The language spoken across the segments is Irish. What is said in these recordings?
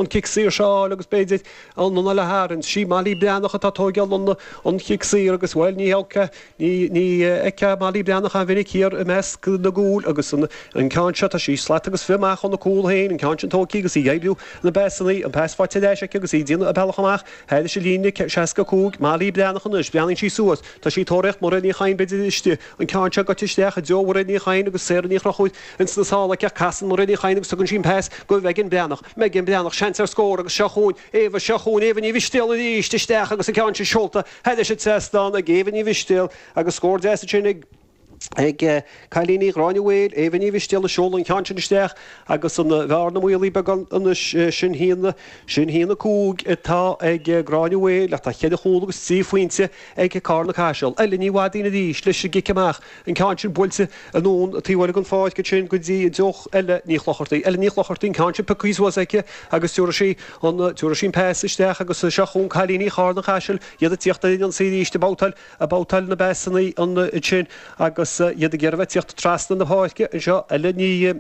An cic saor seo a fháil agus b'fhéidir an anáil a tharraingt. Sí Molly Breathnach atá ag tóigeáil an chic saor agus, bhuel, ní ní fheicfeá Molly Breathnach an-mhinic thiar i measc na gcúl agus an ceann seo, tá sí slat agus fia amach óna cúl féin, an ceann sin tógtha agus í ag oibriú na bpasanna, an pas faighte ar ais aici agus í ag déanamh a bealach amach thairis an líne 65. Molly Breathnach anois, breathnaíonn sí suas, tá sí ag tóraíocht Mairéad Ní Chadhain b'fhéidir istigh, an ceann seo gaibhte isteach i dtreo Mhairéad Ní Chadhain agus Sarah Ní Chonchúir ins na sála aici ach casann Mairéad Ní Chadhain agus tugann sí an pas go Megan Breathnach. Megan Breathnach, seans ar scór agus seo chugainn Éabha, seo chugainn Éabha Ní Mhistéal arís isteach agus an ceann sin seolta thairis an trasnán ag Éabha Ní Mhistéal agus scór deas ansin ag ag cailíní Ghráinne Mhaoil, Éabha Ní Mhistéal ag seoladh an ceann sin isteach agus an bhearna maolaithe beagán anois, sin haon, sin haon 5 atá ag Gráinne Mhaoil ach tá cheithre chúl agus trí phointe ag Carna Caiseal. Ella Ní Mhadaoin arís leis an gcic amach. An ceann sin buailte anonn taobh eile den pháirc ansin go dtí i dtreo Ella Ní Chlochartaigh. Ella Ní Chlochartaigh, an ceann sin pioctha suas aici agus tabharfaidh sí an, tabharfaidh sí an pas isteach agus seo chugainn cailíní Charna Caiseal, iad ag tíocht ar an ionsaí arís, ag babhtáil, ag babhtáil na bpasanna ansin agus iad ag iarraidh a bheith ag tíocht trasna na páirce anseo. Ella Ní,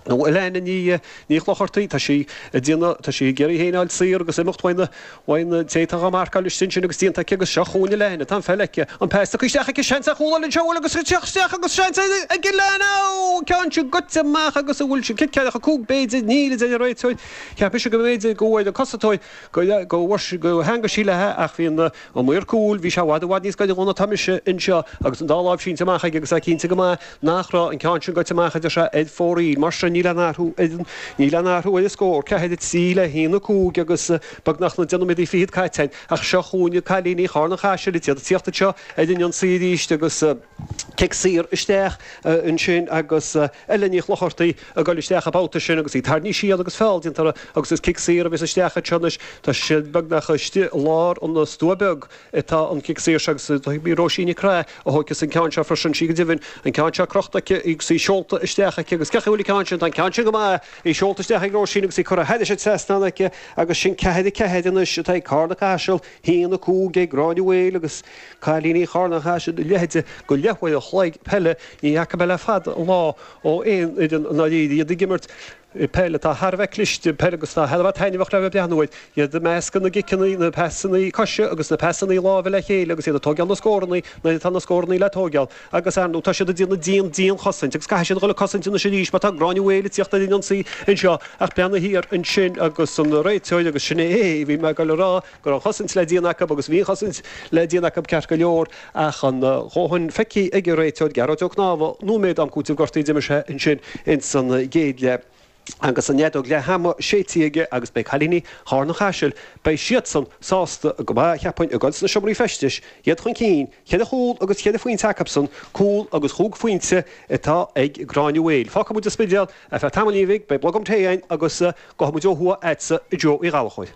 nó Elena Ní, Ní Chlochartaigh, tá sí ag déanamh, tá sí ag iarraidh í féin a fháil saor agus imeacht uaidh na, Uaidh an té atá dhá marcáil istigh ansin agus déanta aici agus seo chugainn Elena, tá an pheil aici, an pas tugtha isteach aici, seans ar chúl eile anseo, bhuel agus ag teacht isteach agus seans ag Elena, ó, an ceann sin goite amach agus an bhfuil sin cic ceathracha 5 b'fhéidir, níl a deir an réiteoir, cheap mise go mb'fhéidir go bhfuair an cosantóir go go theangaigh sí léi ach bhí an an maor cúil, bhí sé i bhfad i bhfad níos gaire dhó ná tá mise anseo agus an dá láimh sínte amach aige agus é cinnte go maith nach raibh an ceann sin goite amach a deir sé ar fóraoil. Mar sin níl aon athrú ar an níl aon athrú ar an scór, 4, 3 le 1, 5 agus beagnach na 10 nóiméad fichead caite againn ach seo chugainn cailíní Charna Caiseal iad ag tíocht anseo ar an ionsaí arís agus cic saor isteach ansin agus Ella Ní Chlochartaigh ag dul isteach an babhta sin agus í tarraingthe siar agus feall déanta uirthi agus is cic saor a bheas isteach anseo anois. Tá siad beagnach istigh i lár an stua beag. atá an cic saor seo agus í Róisín Nic Craith a thóigfeas an ceann seo freisin, sí go deimhin, an ceann seo crochta aici agus í seolta isteach aici agus cén chaoi a bhfuil an ceann sin, tá an ceann sin go maith, í seolta isteach ag Róisín agus í curtha thairis an trasnán aici agus sin 4, 4 anois atá ag Carna Caiseal, 1, 5 ag Gráinne Mhaoil agus cailíní Charna Caiseal a leithéid de leathuair an chloig peile, ní fhaca mé le fada an lá ó aon fhoireann i ndáiríre iad ag imirt. Peil atá thar a bheith cliste, peil agus atá thar a bheith taitneamhach le bheith ag breathnú air. Iad ag meascadh na gciceanna, na pasanna coise agus na pasanna láimhe le chéile agus iad ag tóigeáil na scóranna nuair atá na scóranna le tóigeáil. Agus, ar ndóigh, tá siad ag déanamh dian, dian-chosaint agus caithfidh siad a dhul ag cosaint anois arís mar tá Gráinne Mhaoil ag tíocht ar an ionsaí anseo ach breathnaigh thiar ansin agus an réiteoir agus sin é, bhí mé ag dul a rá go raibh an chosaint le déanamh acu agus bhí an chosaint le déanamh acu ceart go leor ach an dhóthain feicthe ag an réiteoir Gearóid Ó Cnámha nóiméad am cúitimh gortaithe d'imir sé ansin ins an gcéad leath agus an fheadóg leath ama séidte aige agus beidh cailíní Charna Chaisil, beidh siadsan sásta go maith cheapfainn ag dul sna seomraí feistis, iad chun cinn, cheithre chúl agus cheithre phointe acubsan, cúl agus chúig phointe atá ag Gráinne Mhaoil. Fágfaidh muid an Spidéal ar feadh tamaillín bhig, beidh blogam tae againn agus gabhfaidh muid ó thuaidh a'dsa a Joe Uí Ghallchóir.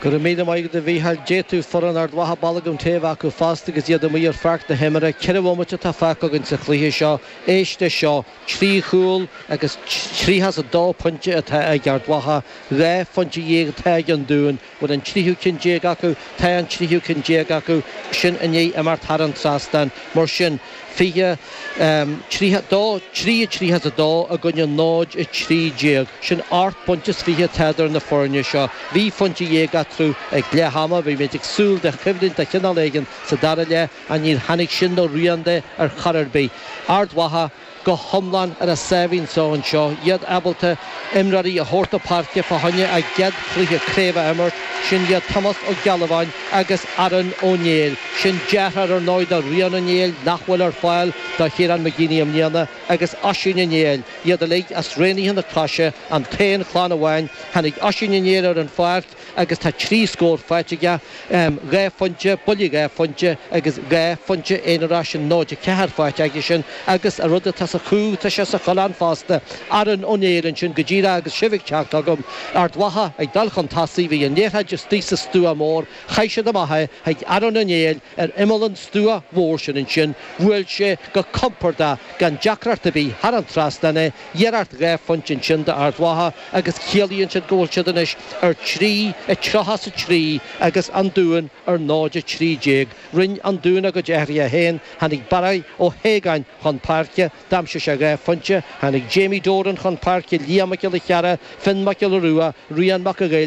Go raibh míle maith agat a Mhícheáil. D'fhéadfadh foireann Ard Mhacha bolgam tae a bheith acu fosta agus iad amuigh ar pháirc na himeartha. Ceithre bhomaite atá fágtha againn sa chluiche seo. Éist leis seo, trí chúl agus 32 pointe atá ag Ard Mhacha, 12 phointe atá ag an Dún. Bhfuil an tríú ceann déag acu? Tá an tríú ceann déag acu. Sin i ndiaidh imeacht thar an trasnán. Mar sin, 20, 32, 3, 32 i gcoinne 0, 13. Sin ocht bpointe is fiche atá idir na foirne seo. Bhí phointe dhéag eatarthu ag leath ama. Bhí muid ag súil de choimhlint de chineál éigin sa dara leath ach níor tháinig sin ná rian de ar chor ar bith. Ard Mhacha go hiomlán ar a sáimhín só anseo, iad ábalta imreoirí a thabhairt na páirce fá choinne a gcéad chluiche craoibhe a imirt, sin iad Tomás Ó Gealbháin agus Aaron Ó Néill. Sin deartháir ar ndóigh do Rian Ó Néill, nach bhfuil ar fáil do Chiarán McGeeney i mbliana, agus Oisín Ó Néill, iad uilig as Raonaithe na Croise, an t-aon chlann amháin. Tháinig Oisín Ó Néill ar an pháirc agus tá 3 scór faighte aige, 2 phointe, buille 2 phointe agus 2 phointe aonarach, sin 0-4 faighte aigesean agus an rud atá sa chú, tá sé sa choileán fosta. Aaron Ó Néill ansin go díreach agus sibh ag teacht chugam. Ard Mhacha ag dul chun tosaigh, bhí an liathróid istigh sa stua mór, chaith siad amach é chuig Aaron Ó Néill ar imeall an stua mhór sin ansin, bhuail sé go compordach gan deacracht ar bith thar an trasnán é, Iarracht 2 phointe ansin d'Ard Mhacha agus ciallaíonn sin go bhfuil siad anois ar 3, 33 agus an Dún ar 0, 13. Rinne an Dún a gcuid athruithe féin, tháinig Barry Ó hAogáin chun páirce. D'aimsigh sé 2 phointe. Tháinig Jamie Doran chun páirce, Liam Mac Giolla Chearra, Finn Mac Giolla Rua, Rian Mac a' Ghoill.